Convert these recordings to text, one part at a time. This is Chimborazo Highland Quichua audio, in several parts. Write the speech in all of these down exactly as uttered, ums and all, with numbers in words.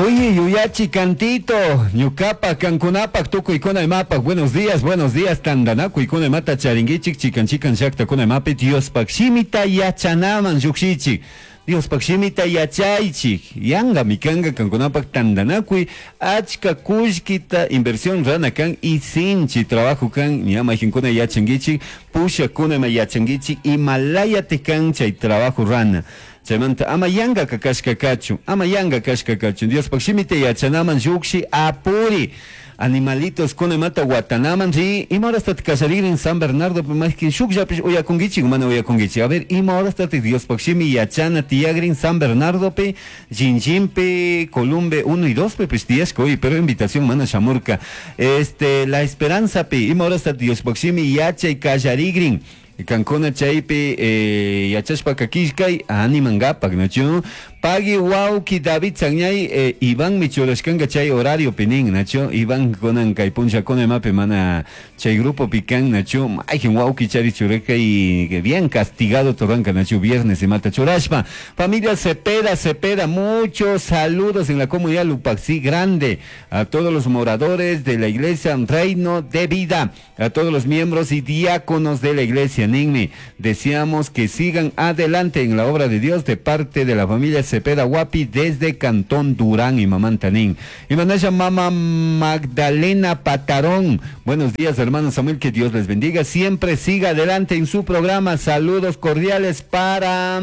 Oye, yuyachi cantito, ñukapak, kankunapak, tukuykuna imapak, buenos días, buenos días, tandanakuykuna imata charinguichik, chikan chikan llaktakuna imapi, Diospak shimita yachanaman llukshichik. Diospak shimita yachaychik, yangami kanga kankunapak tandanakuy, achka kullkita inversión rana kan y sinchi trabajo kan, ña mayqinkuna yachankichik, pushakuna ima yachankichik, imalayati kan chay trabajo rana. Chaymanta ama yanga kashka kachun, ama yanga kashka kachun. Diospak shimita yachanaman llukshi apuri. Animalitos kuna imata watanaman ri, ima horastat kallaririn San Bernardo mayqin shukllapish uyakunkichik mana uyakunkichik. A ver, ima horastat Diospak shimi yachana tiyagrin San Bernardopi, Jinjinpi, Columbe uno y dos pi pues tiyashka hoy, pero invitación mana shamurka. Este, La Esperanza pi, ima horastat Diospak shimi yachay kallarigrin. Kankuna chaypi eh, yachashpaka killkay animangapak, nachu? Pagui wawki David Sagñay eh, Iván michurashkanga chay horario pinin, nachu? Iván kunan kay punllakuna imapi mana chay grupo pican, nachu? Mayqin wawki chari churaka y bien castigado torranka, nachu? Viernes imata churashpa. Familia Cepeda, Cepeda, muchos saludos en la comunidad Lupaxí Grande, a todos los moradores de la iglesia Reino de Vida, a todos los miembros y diáconos de la iglesia Ninmi. Deseamos que sigan adelante en la obra de Dios de parte de la familia Cepeda Guapi desde Cantón Durán y Mamantanín. Y manasha Mama Magdalena Patarón. Buenos días, hermano Samuel, que Dios les bendiga. Siempre siga adelante en su programa. Saludos cordiales para...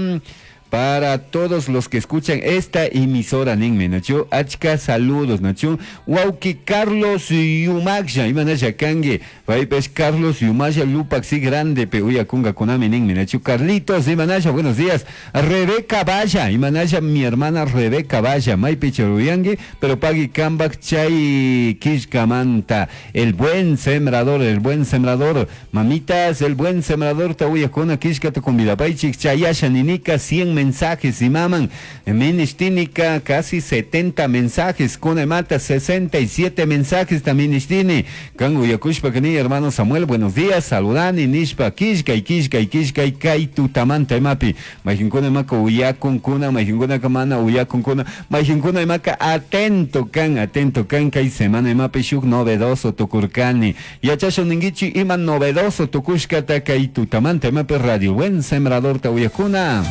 para todos los que escuchan esta emisora, ninmi, nachu, achka saludos, nachu, wawki Carlos Yumaksha, imanasha kangi, paypes Carlos Yumasha Lupaxi grande, pe uyakunga kunami, ninmi, nachu, Carlitos, imanasha, buenos días, Rebeca Valla, imanasha, mi hermana Rebeca Valla, maypi uyangi, pero pagui kambak chay kishkamanta, el buen sembrador, el buen sembrador, mamitas, el buen sembrador, ta uyakuna kishka tu convidapaychik, chayasha ninika, cien mensajes y maman, Ministínica, casi setenta mensajes, Conemata, sesenta y siete mensajes también Ministini, Kangu Yakushpa Kani, hermano Samuel, buenos días, saludani, Nishpa, Kishka, Kishka, Kishka, Kai, Tutamanta, Mapi, Majinkuna Maka, Uyakun Kuna, Majinkuna Kamana, Uyakun Kuna, Majinkuna Maka, atento kan, atento kan, Kai semana Mapi, Shuk novedoso, Tukurkani, Yachasho Ningichi, Iman novedoso, Tukushka, Takai, Tutamanta, Mapi, Radio, buen sembrador, Tauyakuna.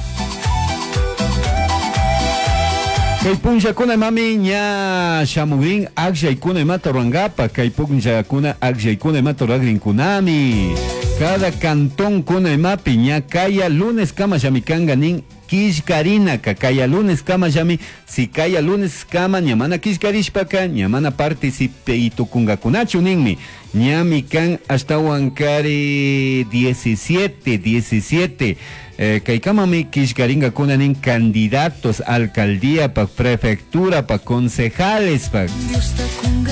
Kay punllakuna mami ña shamugrin akllaykuna imata rurankapak, kay punllakuna akllaykuna imata ruragrinkunami. Cada cantón kuna imapi ña kaya lunes kama llamikanga nin killkarinaka, kaya lunes kama llami, si kaya lunes kama ña mana killkarishpaka, ña mana participe itukungakunachu ninmi. Ñami kan ashtawan kari diecisiete, diecisiete. Eh, kaykamami killkaringakuna nin candidatos alcaldía pa prefectura pa concejales pa.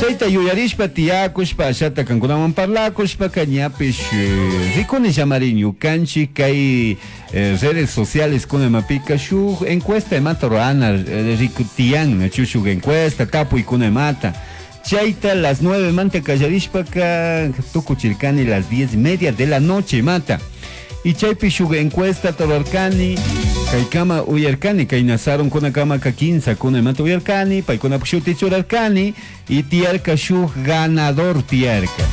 Chayta yuyarishpa tiyakushpa ashata kankunawan parlakushpa kañapish eh, rikuni llamari ñukanchik kay eh, redes sociales kuna imapika shuk encuesta imata ruana eh, rikutiyan nachu shuk encuesta tapuy kuna imata. Chayta las nueve manta kallarishpaka tukuchirkani las diez y media de la noche mata. Y chaypi shuk encuesta torarkani, kaykama uyarkani, kay nasaron kuna kama ka quince kuna imata uyarkani, paykuna shuti churarkani, y tiyarka shuk ganador tiyarka.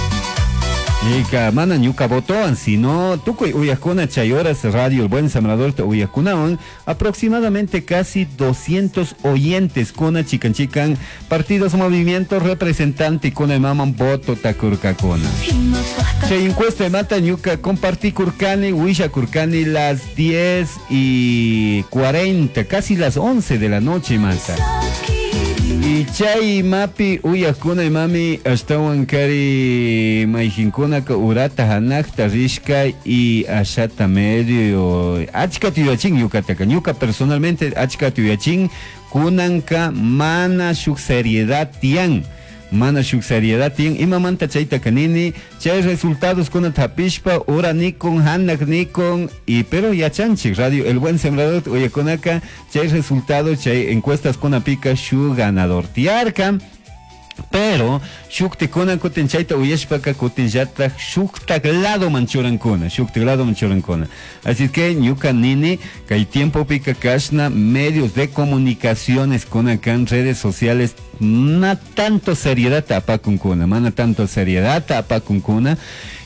Y mana ñuka votoan, sino tukuy uyakuna chay horas radio El Buen Sembrador te uyakunawan, aproximadamente casi doscientos oyentes kuna chican chican, partidos, movimientos, representante kuna maman voto takurkakuna. Chay encuesta mata ñuka compartí kurkani, huilla kurkani las diez y cuarenta, casi las once de la noche mata. Y chay mapi uyakuna mami ashtawan kari mayqinkuna urata hanakta rishka y ashata medio achka tuyachin ñukataka ñuka personalmente achka tuyachin kunanka mana shuk seriedad tiyan mana shuk seriedad tiyan imamanta chayta kanini chay resultados kuna tapishpa ura nikun hanak nikun y pero yachanchik radio El Buen Sembrador uyakunaka chay resultados chay encuestas kuna pika shu ganador tiarka. Pero shuktikuna kutin chayta uyashpaka kutinllatak shuktak ladoman churankuna, shuktak ladoman churankuna. Así que ñuka nini kay tiempopika kashna medios de comunicaciones kuna kan redes sociales na tanto seriedad apakunkuna, mana tanto seriedad apakunkuna.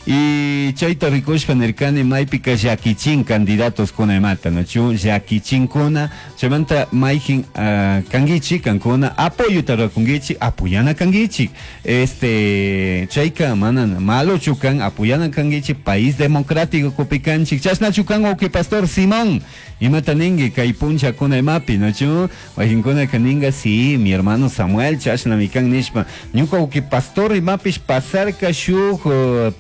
Y chayta rikushpa nirkani maypika llakichin candidatos kuna imata, nachu llakichinkuna, chaymanta mayjin uh, kankichi, kankuna apoyota rakunkichi, apoyana kankichi. Este, chayka mana malochu kan, apoyana kankichi, país democrático kupikanchik, chashnachu kan uki pastor Simón, imata ninki kay punchakuna imapi, nachu, wakinkuna kaninga, sí, mi hermano Samuel, chashnami kan nishpa, ñuka uki pastor imapish pasarka shuk uh,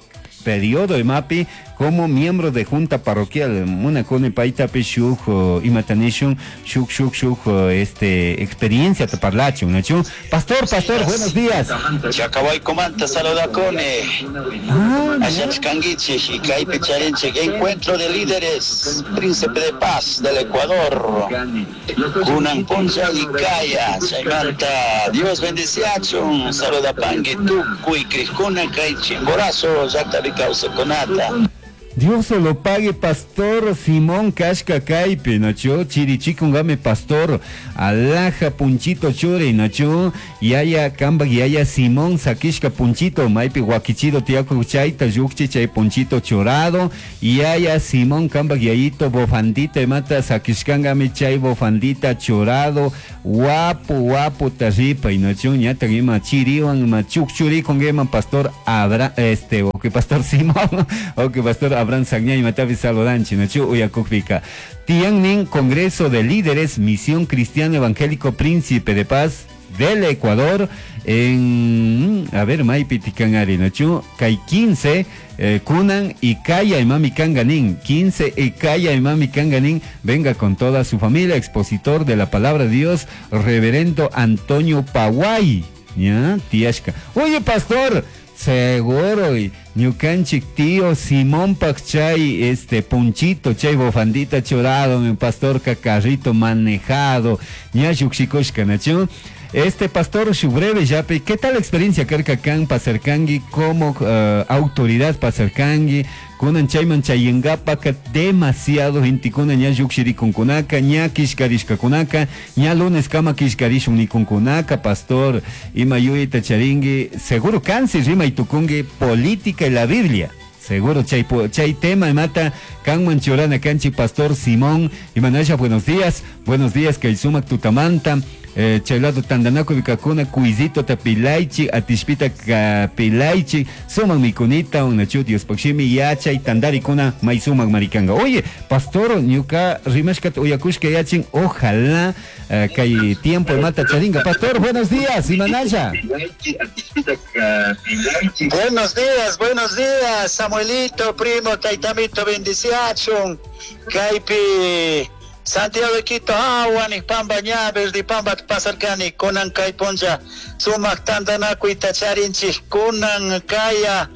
periodo imapi como miembro de junta parroquial munakuni paytapish shuk uh, imatanishun shuk shuk shuk uh, este experiencia te parlachun, nachu. Pastor, pastor, buenos días. Chacawaykumanta saludakuni. Ah, Allachkanguichi y kaypi charinchik encuentro de líderes Príncipe de Paz del Ecuador. Kunan puncha y kaya chaymanta Dios bendiciachun saludapangui tukuy krikuna kay Chimborazo llaqtapi kawsaqkunata. Dios se lo pague, pastor Simón Kashka Kaipe, nacho, chirichikungame pastor, alaja punchito chure, nacho, yaya kamba yaya Simón sakishka punchito, maipi guaquichido tiaco chaita, yukchi chay punchito chorado, yaya Simón kamba yayito bofandita mata sakishkangame chay bofandita chorado, guapo guapo tarripa, y nacho, ñata ima chiriwan, ima chukchurikungema pastor Abra, este, o que pastor Simón, o que pastor Abraham Sagña y Matavi Saludanchi, Nachu Uyakukpika. Tiannin, Congreso de Líderes, Misión Cristiano Evangélico Príncipe de Paz del Ecuador, en, a ver, Maipi Tikangari, Nachu, Kai quince, eh, Kunan y Kaya y Mami Kanganin, quince y Kaya y Mami Kanganin, venga con toda su familia, expositor de la palabra de Dios, Reverendo Antonio Paguay, ya, Tiashka. Oye, pastor, seguro, y ñukanchik tío Simón Pachay, este punchito, chay bofandita chorado, mi pastor cacarrito manejado, ñayuxikoshka, nachu. Este pastor Shubreve Yape, ¿qué tal la experiencia karka kan pasarkangi como uh, autoridad pasarkangi? Kunan chayman chayengapaka demasiado intikuna ña yuxirikunkunaka, ña kishkarishkakunaka, ña lunes kama kishkarishunikunkunaka, pastor ima yuyita charingui, seguro kansi rima itukungi política y la Biblia. Seguro, chay, chay tema mata kanman churana kanchi pastor Simón Imanaya, buenos días, buenos días kay sumak tutamanta. Eh, chaylado tandanako vikakuna kuizito tapilaichi atishpita kapilaichi sumak mikunita unachu Dios pakshimi yachay tandarikuna may sumak marikanga. Oye, pastor ñuka rimashkata uyakushka yachin, ojalá eh, kay tiempo mata charinga. Pastor, buenos días, Imanaya. Buenos días, buenos días, Samuelito, primo, taitamito, bendiciachun, kaypi Santiago de Quito, Aguani, Pamba, Ñaves, de Pamba, Pasarcani, Kunan, Kayponcha, Sumak, Tandanaku, Charinchi, Kunan, Kaya,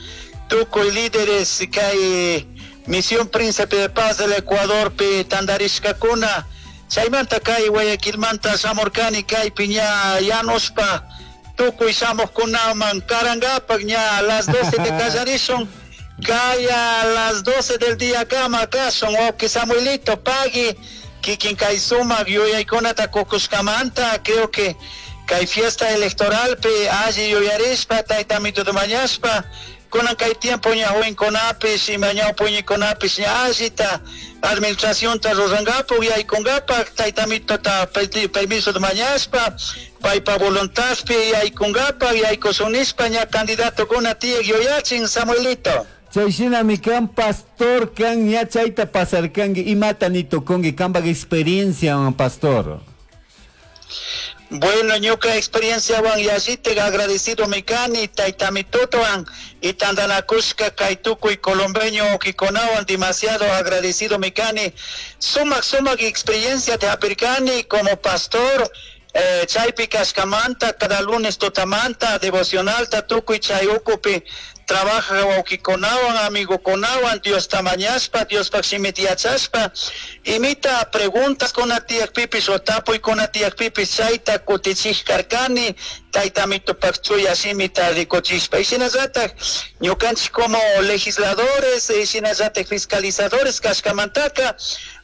Tukuy, líderes, Kay, Misión Príncipe de Paz del Ecuador, Pi, Tandarishka, Kuna, Chaymanta, Kay, Guayaquilmanta, Samorcani, Kay, Piña, Yanospa, Tukuy, Samos, Kunaman, Karangapa, Ña, a las doce de Callarishon, Kaya, a las doce del día, Kama, Kason, Oki, Samuelito, Pagui, Kikin kay sumak yuyaykunata kukushkamanta, creo que kay fiesta electoral pe alli yuyarishpa taytamito mañashpa kunan kay tiempo ña jovenkunapish ima ñawpuñikunapish ña allita administracionta rurankapak yaykunkapak taytamitota permiso mañashpa paypa voluntadpi yaykunkapak yaykushunishpa ña candidatokuna tiyak yuyachin Samuelito. Chayshinami kan pastor kan ña chayta pasarkanki imata ni tukunki kanpak experiencia pastor. Bueno, ñuka experiencia wan yallite agradecido mi kani taytamitutuwan y tandanakushka kay tukuy colombeño ukikunawan demasiado agradecido mi kani sumak sumak experiencia te hapirkani como pastor. Eh, chaypi kashkamanta cada lunes tutamanta devocionalta tukuy chay ukupi Trabaja wawkikunawan, amigukunawan, Diosta mañashpa, Diospaj shimita yachashpa, imita preguntas kuna tiyakpipish o tapuykuna tiyakpipish chayta kutichik karkani, tayta mitupak chuya shimita rikuchishpa. Y shinallatak ñukanchik como legisladores, y shinallatak fiscalizadores kashkamantaka,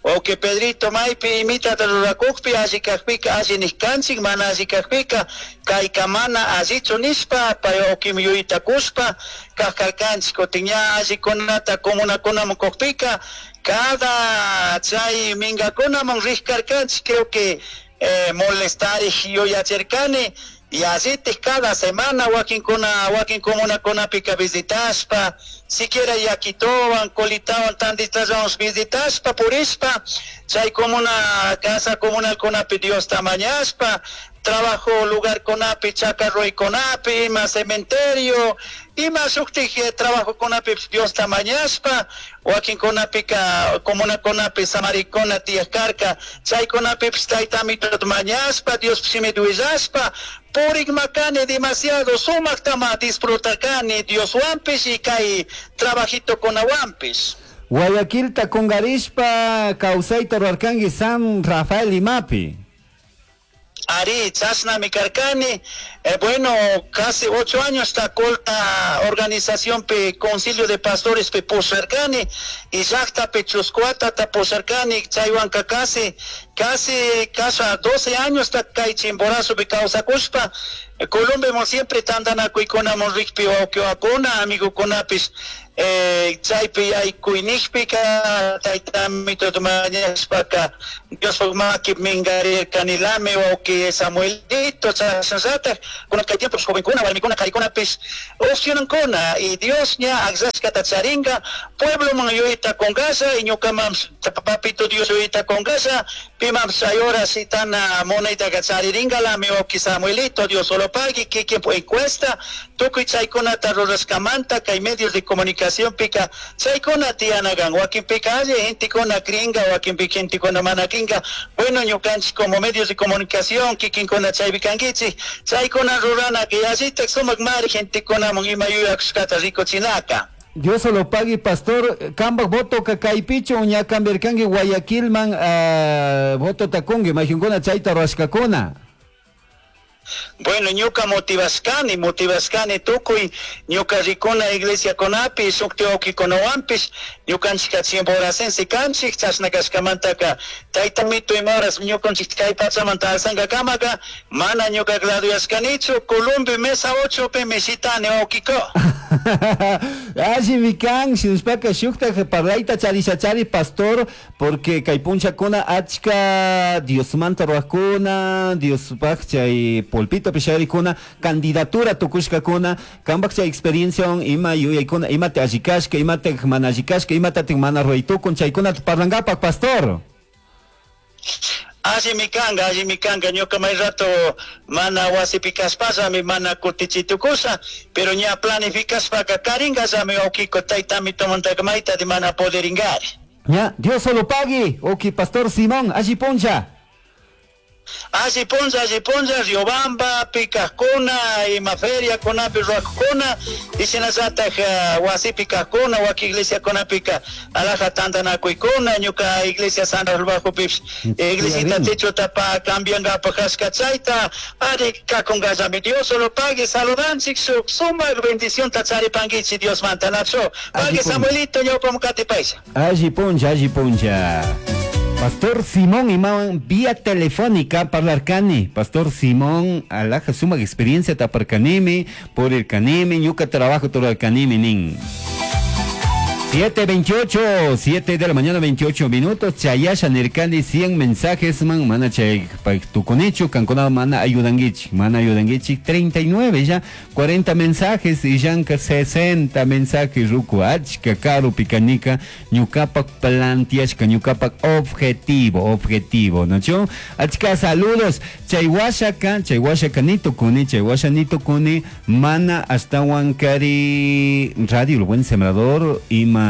wawqi Pedrito maypi imitata rurakukpi alli kakpika alli nikanchik, mana alli kakpika kayka mana allichu nishpa, pay wawqimi yuyayta kushpa kak karkanchik. Kutin ña allikunata comunakunaman kukpika cada chay mingakunaman rik karkanchik, creo que eh, molestarik yuyachirkani, y allitik cada semana wakinkuna wakin comunakunapika visitashpa, siquiera yakitowan, colitawan, tanditallawan visitashpa, purishpa, chay comuna, casa comunalkunapi Diosta mañashpa, trabajo lugarkunapi, chacarroykunapi, ima cementerio, ima shuktik eh, trabajokunapi Diosta mañashpa, wakinkunapika comunakunapi samarikuna tiyak karka, chaykunapipis taytamituta mañashpa, Dios shimita willashpa, purikmakani demasiado sumaktama disfrutarkani Dioswanpish y kay trabajitokunawanpish. Guayaquilta kungarishpa kawsayta rurarkanki San Rafael imapi. Ari, chashnami karkani. Eh, bueno, casi ocho años ta colta organización pe Concilio de Pastores pe pusharkani y llaqtapi chuskuata ta pusharkani, chaywanka casi, casi, casi doce años ta kay Chimborazopi kawsakushpa, Colombia siempre tantanakuykunamun rikpi wawqiwakuna, amigukunapish, eh, chaypi yaykuynikpika taytamituta mañashpaka Diospaj maki mingarirkanilami wawqi Samuelito, chashnallatak kunan kay tiempo jovenkuna, warmikuna, karikunapish opcionankuna y Dios ña akllashkata charinka puebloman yuyayta kunkasha y ñukaman papito Dios yuyayta kunkasha, pimanpish chay hora shitana munaytaka charirinkalami wawqi Samuelito, Dios solo pagui, kikin encuesta, tukuy chaykunata rurashkamanta kay medios de comunicación pika chaykuna tiyanakan, wakinpika alli gentekuna cringa, wakinpika gentekuna mana cringa. Bueno, ñukanchik como medios de comunicación kikinkuna chaypi kankichik, chaykuna rurana que allitak sumak mari gentekunaman ima yuyakushkata rikuchinaka. Dios lo pague, pastor. Kambak voto kaypichu ña cambiarkanki Guayaquilman, uh, voto takunki, mayjunkuna chayta rurashkakuna. Bueno, ñuka motivashkani, motivashkani tukuy ñuka rikuna iglesiakunapi, shukti wawkikunawanpish, ñukanchika chimboracense kanchik, chashna kashkamantaka tayta mito ima horas ñukanchik kay pachamanta alsankakamaka mana ñuka graduashkanichu, Colombia mesa ocho pimi shitani wawkiko. Allimi kan, shinashpaka shuktak parlayta charishachari, pastor, porque kay punchakuna achka Diosmanta rurakuna, Diospaj chay pulpito pisharikuna, candidatura tukushkakuna, kambak chay experiencia ima yuyaykuna, imata allikashka, imata mana allikashka, imatatik mana ruraytukun, chaykunata parlankapak, pastor. Allimi kanka, allimi kanka, ñuka may rato mana wasipi kashpallami mana kutichitukusha, pero ña planificashpaka karinkallami wawkiko taytamito mayta mana poderinkari. Ya, Dios solo pague, ok, pastor Simón, alli puncha. Alli puncha, alli puncha, Riobamba, pikajkuna, ima feriakunapi rurakuna, y shinallatak uh, wasipi kajkuna, waki iglesiakunapika alaja tantanakuykuna, ñuka iglesia San Rafael Bajopipish, iglesita techotapa cambiankapak kashka chayta, ari kakunkallami, Dios solo pague, saludanchik shuk sumak bendicionta charipankichik Diosmanta, nacho, pague Samuelito, ñawpaman katipaylla. Alli puncha, alli puncha. Pastor Simón imawan vía telefónica parlarkani. Pastor Simón, alaja suma experiencia taparkanimi, por el kanimi, ñuka trabajo todo el kanimi nin. siete veintiocho, siete de la mañana veintiocho minutos, chayasha nirkani cien mensajes man, mana chay tukunichu, kankuna mana ayudanguichik, mana ayudanguichik, treinta y nueve ya, cuarenta mensajes y yanka sesenta mensajes, ruku achka, karu pikanika, ñukapak plantiashka, ñukapak objetivo, objetivo, ¿no? Achka saludos, chaywashaka, chaywashaka ni tukuni, chaywasha ni tukuni, mana hasta Huancari, Radio El Buen Sembrador, ima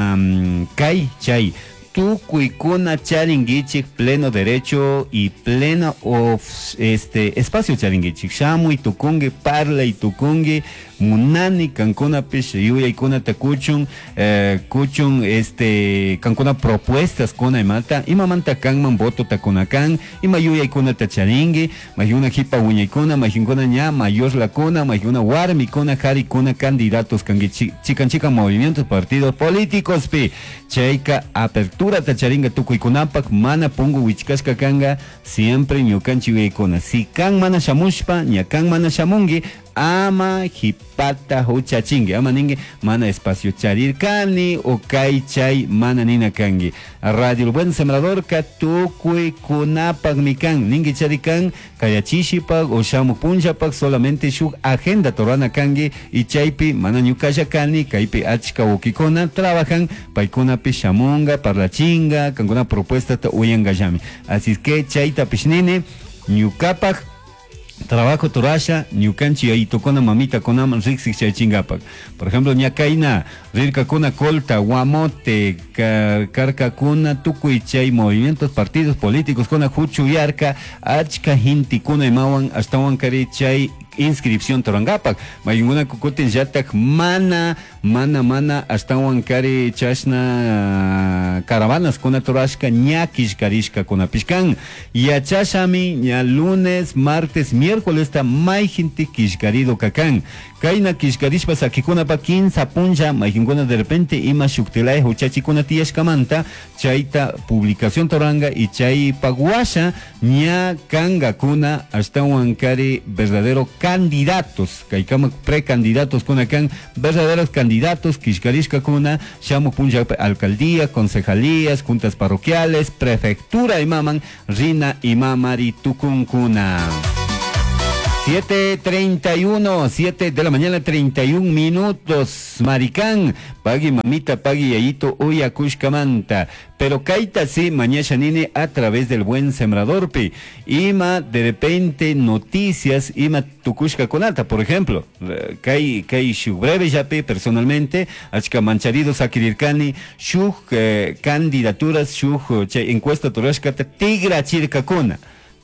kai chay Tukuykuna charinguichik pleno derecho y pleno of, este, espacio charinguichik. Shamuy tukungi, parlay tukungi, munani kankunapish yuyaykunata kuchun, eh, kuchun este, kankuna propuestas kuna imata, imamanta kanman votota kuna kan, ima yuyaykunata charingui, mayuna jipa wiñaykuna, mayunkuna ña mayor lakuna, mayuna warmikuna, jarikuna candidatos kangi chikan chikan movimientos, partidos políticos pi, chayka apertura tacharinga tukuykunapak, mana pungu wichkashka kanga, siempre ñukanchik yuyaykuna. Si kan mana shamushpa, ña kan mana shamungi, ama jipata huchachingi, ama ningi mana espacio charirkani o kay chay mana nina kangi. Radio El Buen Sembrador ka tukuykunapak mi kan, ningi charikan kayachishipak o shamu punllapak solamente shuk agenda torana kangi y chaypi mana ñukalla kani, kaypi achka wawkikuna trabajan, paykunapi shamunga, parlachinga, kankuna propuesta ta uyangallami. Así es que chaytapish nini, ñukapak trabajo torasha, ñukanchi yayitokuna mamita kunaman riksik chaychingapak. Por ejemplo, ñakayna, rirkakuna Colta, Guamote, karkakuna, tukuy chay movimientos, partidos políticos kuna huchuyarka, achka hintikuna imawan, ashtawan kari chay inscripción torangapak. Mayunguna kukutin yatak mana, mana, mana, ashtawan kari chashna caravanas kuna torashka, ñakish karishka kuna pishkan. Yachashami, ña lunes, martes, miércoles ta mayjinti kishkarido kakan. Kayna kishkarishpa sakikunapa kinsa punlla, mayjinguna de repente ima shuktilay huchachikuna tiyashkamanta, chayta publicación toranga y chay paguasha ña kangakuna ashtawan kari verdadero candidatos, kaykama precandidatos kuna kan, verdaderos candidatos kishkarishka kuna, shamu punlla alcaldía, concejalías, juntas parroquiales, prefectura imaman, rina imamari tukunkuna. siete treinta y uno, siete de la mañana, treinta y un minutos. Maricán, pagui mamita, pagui yayito, uya kushkamanta. Pero kaita sí, mañana nini a través del Buen Sembrador pi. Ima de repente noticias, ima tukushka kunata, por ejemplo, kai, kai shu breve yapi personalmente, achka mancharido sakirirkani, shuk eh, candidaturas, shuk che, encuesta turashkata, tigra chirkakuna.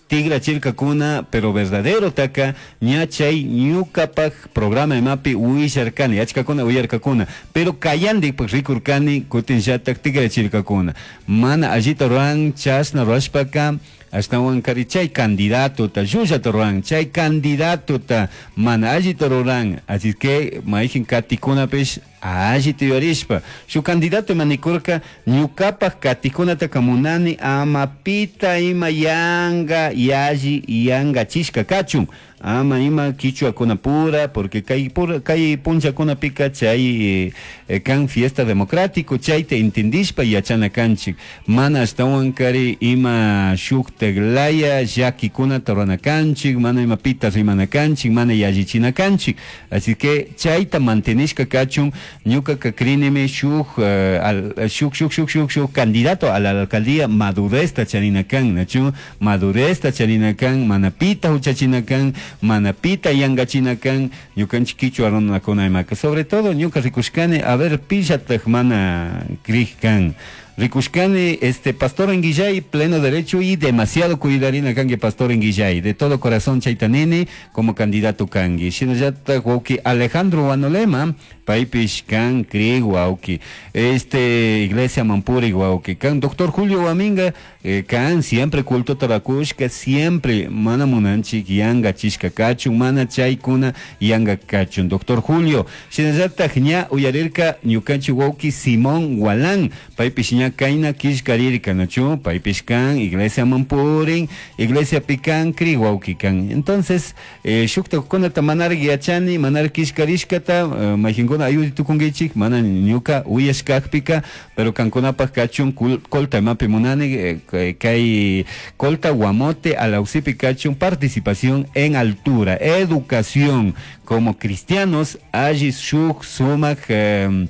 Tigra chirkakuna, pero verdadero taka, ñachay ñukapak programa de mapi uillarkani, achkakuna uyarkakuna, pero kayandi pues rikurkani, kutin yatak tigra chirkakuna. Mana allita ruan, chasna ruashpaka, ashtawan kari chay candidato ta, llulla ruan, chay candidato ta, mana allita ruan, así que maijin katikuna pes, allita yorishpa. Su candidato manikurka, ñukapak katikunata kamunani, amapita ima yanga, yaji yanga chishka kachun. Ama ima quichua kuna pura, porque kay pura, kay puncha kuna pika chay eh, kan fiesta democrático, chay te entendishpa yachana kanchik. Mana ashtawan kari ima shukteglaya, yaki kuna torana kanchik, mana ima pita rimana kanchik, mana yajichina kanchik. Así que chayta mantenishka kachun, ñuka kakrinime shuk, eh, al, shuk, shuk, shuk, shuk, shuk, candidato a la alcaldía maduresta charina kan, nachu, maduresta charina kan, mana pita huchachina kan, manapita yangachina kan, ñukanchik quichua runakuna imaka. Sobre todo ñuka rikushkani, a ver, pillataj mana krij kan. Rikushkani, este, Pastor Enguillay, pleno derecho y demasiado cuidarina kangi Pastor Enguillay, de todo corazón chaitanini como candidato kangi. Shinallata wauki Alejandro Guanolema, paipish kan kri wauki, este, Iglesia Mampuri wauki, kan doctor Julio Guaminga, eh, kan siempre culto tarakushka, siempre mana munanchik yanga chishka kachun, mana chaykuna yanga kachun. Doctor Julio, shinallata ña uyarirka ñukanchi wauki Simón Gualán, paipish ña kaina kishkarirka, nachu, paipish kan, Iglesia Mampurin, Iglesia Pican, kri wauki kan. Entonces, eh, shukta kunata manar yachani, manar kishkarishkata, eh, majinkuna ayudi tukungichik, mana ñuka uyashkakpika, pero kankunapaj kachun colta mapi munani, eh, kay colta guamote alausipi kachun participación en altura, educación, como cristianos, alli shuk sumak, eh,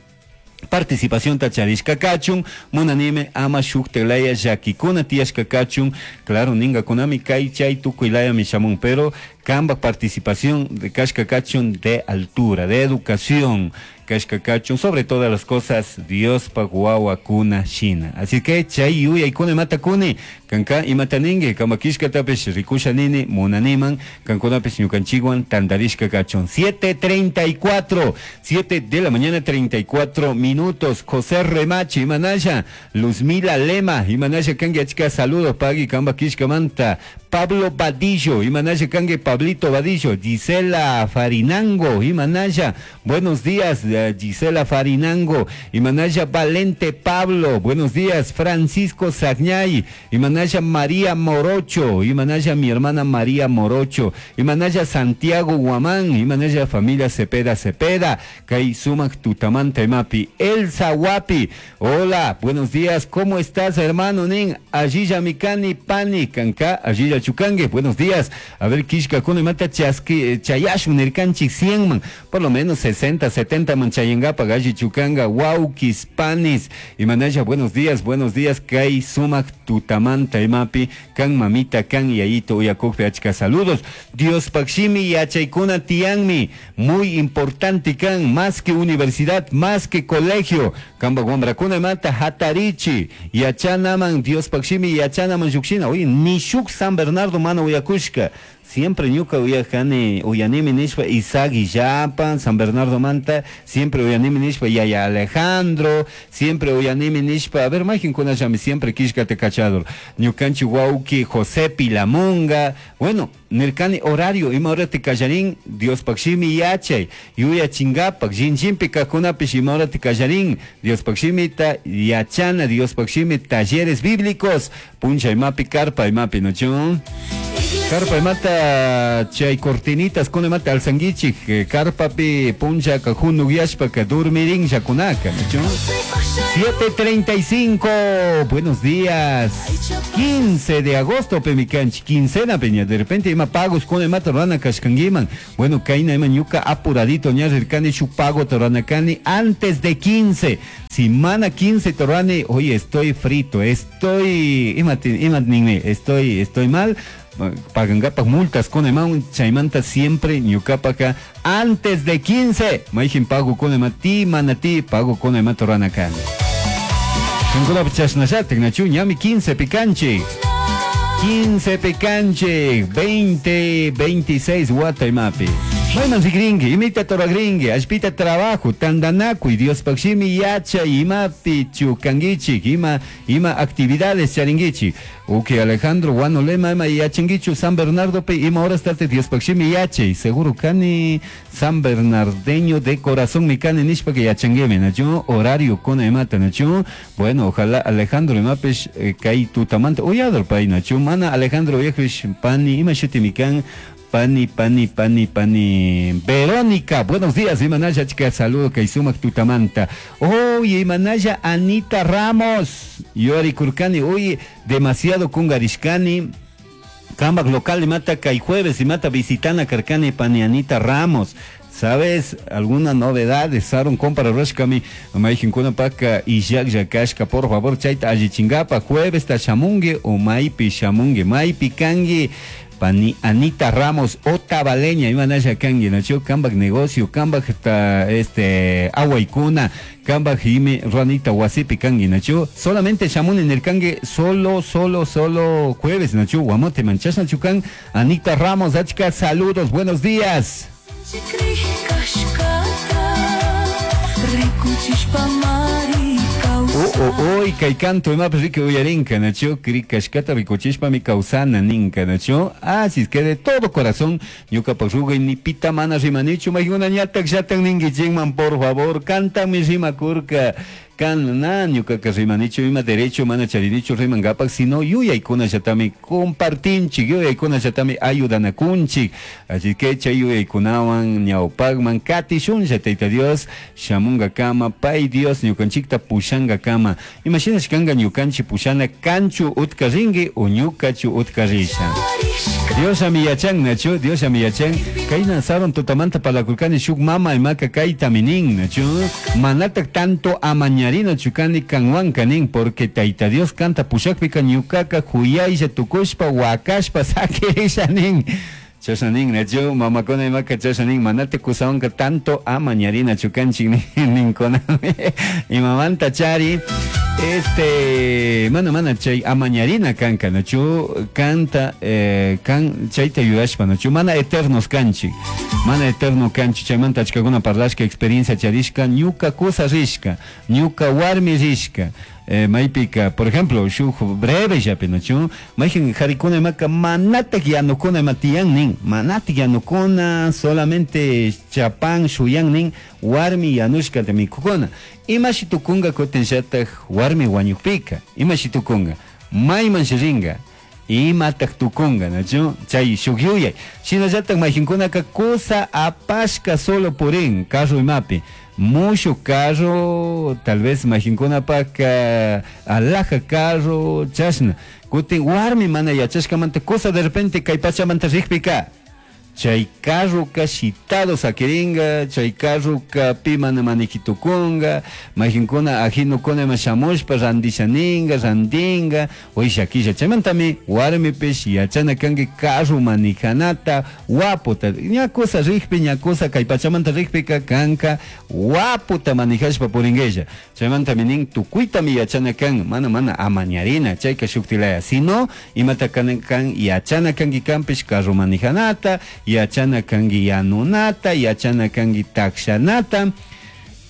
participación tacharishka kachun, munanime ama shuktelaya yakikuna tiyashka kachun, claro, ninga kunami kay chay tukuylaya mishamun, pero kamba participación de kashka kachun de altura, de educación, Kashka kachun, sobre todas las cosas, Diospaj wawakuna shina. Así que chay yuyaykuna imata kuni, kanka imata ninki, kama kishkatapish rikusha nini, munaniman, kankunapish ñukanchikwan tantarishka kachun. siete treinta y cuatro, siete de la mañana treinta y cuatro minutos. José Remache, imanalla, Luzmila Lema, imanalla kanki, achka saludos pagui kamba kishkamanta. Pablo Vadillo, imanalla kanki Pablito Vadillo, Gisela Farinango, imanalla, buenos días, eh, Gisela Farinango, imanalla Valente Pablo, buenos días, Francisco Sagñay, imanalla María Morocho, imanalla mi hermana María Morocho, imanalla Santiago Guamán, imanalla familia Cepeda Cepeda, Kay sumak tutamanta imapi, Elsa Guapi, hola, buenos días, ¿cómo estás, hermano nin? Allilla mikani pani, kanka, allilla chukangue, buenos días, a ver, kishka kuna imata chaski, chayashun nirkanchik cien man, por lo menos sesenta, setenta man chayangapa galli chukanga, waukis, panis, imanalla, buenos días, buenos días, kay sumak tutamanta imapi, kan mamita, kan yayito, uyakukpi achka saludos, Diospaj shimi yachaykuna tiyanmi, muy importante kan, más que universidad, más que colegio, kamba wambrakuna imata hatarichi, yachanaman, Diospaj shimi yachanaman llukshina, oye, ni shuk San Bernardo mana uyakushka, siempre ñuka uyajani, uyanimi nishpa Isaac Illapa, San Bernardo manta, siempre uyanimi nishpa Yaya Alejandro, siempre uyanimi nishpa, a ver, mayqinkunallami siempre kishkata kachador, ñukanchik wawki José Pilamunga, bueno, nirkani horario, ima horati kallarin, Diospaj shimi yachay, yuyachingapak, shinllinpi kajkunapish ima horati kallarin, Diospaj shimita yachana, Diospaj shimi talleres bíblicos, puncha imapi, carpa imapi, ¿no? Carpa imata chay cortinitas kuna imata alzanguichik, carpapi punchaka junuyashpaka dormirinllakunaka, ¿no? siete treinta y cinco, buenos días. quince de agosto, pemikanchik, quincena peña, de repente ima pagos kuna imata rurana kashkanguiman. Bueno, kayna ima ñuka apuradito ña rirkani shuk pago rurana antes de quince. Si mana quince rurani, oye, estoy frito, estoy, ima, ima estoy, estoy mal, pagangapak multas kuna ima chaymanta siempre ñukapaka antes de quince mayjin pago kuna ima ti mana ti pago kuna ima rurana kani. Kankunapi chashnallatik nachu ñami quince pikanchik quince pikanchik veinte veintiséis wata imapi mayman rigrinki imita ruragrinki allpita trabajo tandanakuy Diospaj shimi yachay imapi chukankichik ima ima actividades charinkichik. Uki Alejandro Guano Lema ima yachankichu San Bernardo pe ima horas tate Diospaj shimi yachay seguro kani San Bernardeño de corazón mi kani nishpa que yachanguime nachu horario kuna imata nachu. Bueno, ojalá Alejandro imapish eh, kay tutamanta uyador pay nachu mana Alejandro uyakpish pani ima shuti mikan pani, pani, pani, pani. Verónica, buenos días, imanalla, chica, saludo, kay sumak tutamanta. Oye, imanalla, Anita Ramos. Yori Kurkani, oye, demasiado kungarishkani. Kambak local imata kay jueves imata visitana karkani pani Anita Ramos. ¿Sabes alguna novedad? Saron compra rashkami mayjinkuna paka illaklla kashka, por favor chayta allichingapa jueves ta shamungi o maypi shamungi maypi kangi pani Anita Ramos Otavaleña imanalla kangi nachu kambak negocio kambak ta este awaykuna kambak ime ranita wasipi kangi nachu solamente shamuni nirkangi solo solo solo jueves nachu guamote manchas nachu kan Anita Ramos, achka saludos, buenos días. Kashkata rikuchishpa mari. Oh, oh, oh, kay canto imapish riki uyarinka nachu kashkata rikuchishpa mi kawsana ninka nachu. Así es que de todo corazón ñukapak rugay ni pita mana rimanichu maykuna ñatak llatan ninkichikman por favor cantami rimakurka kan na ñukaka rimanichu ima derecho mana charinichu rimangapak sino yuyaykunallatami compartinchik yuyaykunallatami ayudanakunchik así que chay yuyaykunawan ñawpakman katishunlla Tayta Dios shamunkakama pay Dios ñukanchikta pushankakama imashinash kanka ñukanchik pushana kanchu utka rinki o ñukachu utka risha Dios ami yachan nachu Dios ami yachan kayna saron tutamanta parlakurkani shuk mama imaka kaytami nin nachu manatak tanto amañarina chukani kanwanka nin porque Tayta Dios kanta pushakpika ñukaka huyaylla tukushpa wakashpa sakirisha nin. Chashna nin, nachu mamakuna imaka chashna nin, manata kusawanka tanto amañarinachu kanchik ninkunami. Imamanta chari, este, mana mana chay amañarina kanka, nachu kanta, eh, kan chayta yuyashpa, nachu mana eternos kanchik, mana eterno kanchik, chaymanta achkakuna parlashka experiencia charishka, ñuka kusa rishka, ñuka warmi rishka. Eh, maypika, por ejemplo, shuk breve llapi, nachu mayjin jarikuna imaka manatak yanukuna ima tiyan nin, manatak yanukuna, solamente chapan shuyan nin, warmi yanushkata mikukuna. Imashi tukunga kutinllatak warmi wañukpika, imashi tukunga, mayman ringa, imatak tukunga, nachu chay shuk yuyay. Shinallatak mayjinkunaka kusa apashka solo purin, carro imapi, mucho carro, tal vez mayjinkunapak alhaja carro, chashna. Kutin warmi mana yachashkamanta kusa de repente kay pachamanta rikpika, chay carroka shitado sakiringa, chay carroka pi mana manijitukunga, mayjinkuna ajinukuna ima shamushpa randishaninga, randinga, oishakilla. Chaymantami warmipish yachana kanki carro manijanata, waputa, ña kusa rikpi, ña kusa kay pachamanta rikpika kanka waputa manijashpa puringuella. Chaymantami nin tukuytami yachana kan, mana mana amañarina, chayka shuktilaya, sino imata kan, kan yachana kanki kanpish carro manijanata, yachana kanki yanunata, yachana kanki takshanata.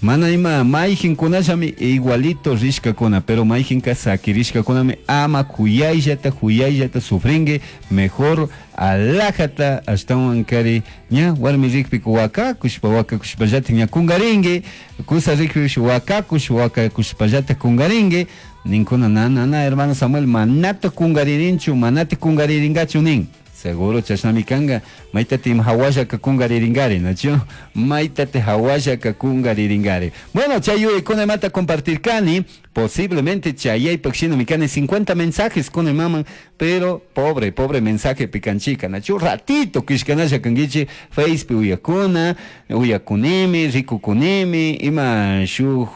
Mana ima mayjinkunallami igualito rishkakuna, pero mayjinka sakirishkakunami ama kuyayllata, kuyayllata sufrinki, mejor alajata ashtawan kari ña warmi rikpika wakakushpa, wakakushpallatak ña kungarinki, kusa rikpipish wakakush, wakakushpallatak kungarinki. Ninkuna, na, na, na, hermano Samuel, manata kungaririnchu, manata kungariringachu nin. Seguro chashnami kanga, maytati ima hawallaka kungariringari, nachu? Maytati hawallaka kungariringari. Bueno, chay yuyaykuna imata compartirkani, posiblemente chayaypak shinami kani cincuenta mensajes kuna imaman, pero pobre, pobre mensaje picanchica, nachu? Ratito kishkanalla kankichi, Facebook uyakuna, uyakunimi, rikukunimi, ima shuj,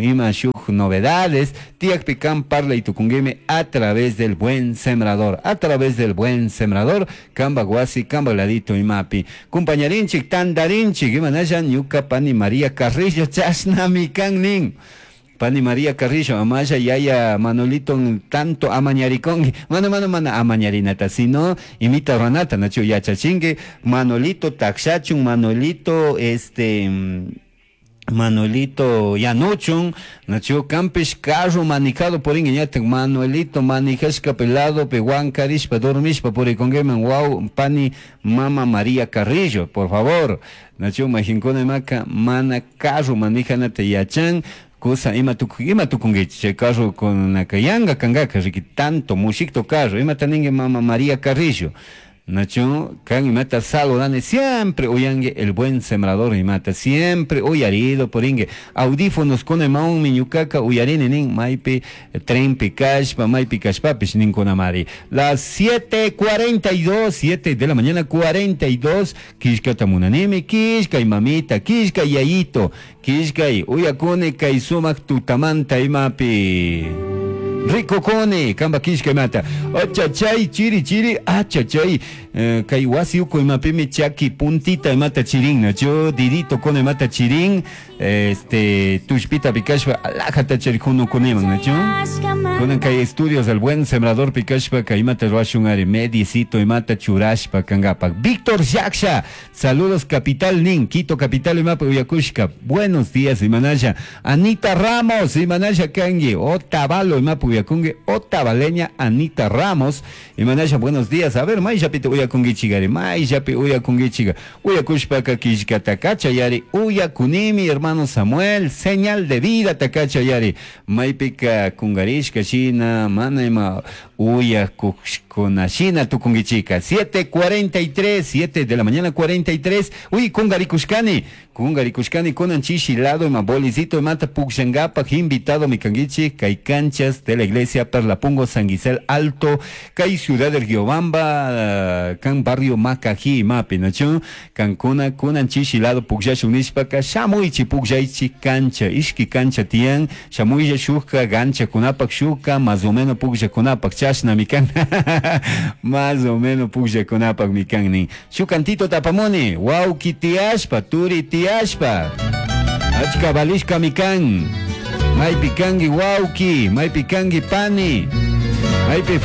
ima shuj novedades, tiakpi kan parlay tukunguimi a través del buen sembrador, a través del buen sembrador, kamba guasi, kamba ladito imapi. Compañarinchik, tandarinchik, imanalla ñuka pani María Carrillo, chashnami kan nin. Pani María Carrillo, amaya yaya Manolito tanto amañaricongi, mano mano mana amañarinata, sino imita ranata, nacho yachachingue, Manolito taxachun, Manolito este Manuelito yanuchun, nacho campish carro manijado por inguiñate, Manuelito manijashka pelado, pehuancarishpa, dormishpa, por icongueman, wow, pani mama María Carrillo, por favor, nacho majincona maca, mana carro manijanate yachan, cosa ima tuku, ima tukunguichi, chay carro con nakayanga kangaka, riki tanto mushikto carro, ima taningue mama María Carrillo. Nacho, kan imata saludane siempre oyangue el buen sembrador imata siempre oyarido por ingue audífonos con emaun miñucaca uyarine nin maipi tren pikashpa maipi kashpapish nin konamari. Las siete cuarenta y dos, siete de la mañana cuarenta y dos, kishka tamunanimi, kishka y mamita, kishka y yayito, kishka y uyakune kaisumak tutamanta imapi. Rico cone, kamba kishka mata. Achachay, chiri, chiri, achachay. Eh, kay wasi uko imapimi chaki puntita imata chirin, nacho didito cone mata chirin. Este, tushpita pikashpa, alajata charijuno coneman, nacho. Conan kay estudios del buen sembrador pikashpa, kay imata ruashungari, medicito imata churashpa, kangapa. Víctor Yaksha, saludos capital nin, Quito capital imapa uyakushka. Buenos días, imanaya. Anita Ramos, imanaya kangi, Otavalo imapa uyakungi, Otavaleña Anita Ramos, imanaya, buenos días. A ver, mayllapita uyakungichigari, mayllapi uyakungichiga, uyakushpa kakishka takachayari, uyakunimi, hermano Samuel, señal de vida takachayari, maypika kungarishka shina, mana ima uyakushkuna shina tukungichika. siete cuarenta y tres, siete de la mañana cuarenta y tres, uy, kungarikushkani, kungarikushkani, kunan chishi lado ima bolicito imata pukshangapak, invitado mi kangichi, kay canchas de la iglesia Perlapungo, San Gisel Alto, kay Ciudad del Riobamba, kan barrio Macají, imapi, nachu, kankuna, kunan chishi lado pukshashun nishpaka, shamuichi pukshaichi cancha, ishki cancha tiyan, shamuilla shuka, gancha kunapak shuka, más o menos puksha kunapak, chashna mi kan. Más o menos pugllakunapakmi kan nin. Shuk cantito tapamuni, wawki tiyashpa, turi tiyashpa. Achka valishkami kan. Maypi kanki wawki, maypi kanki pani. Maypi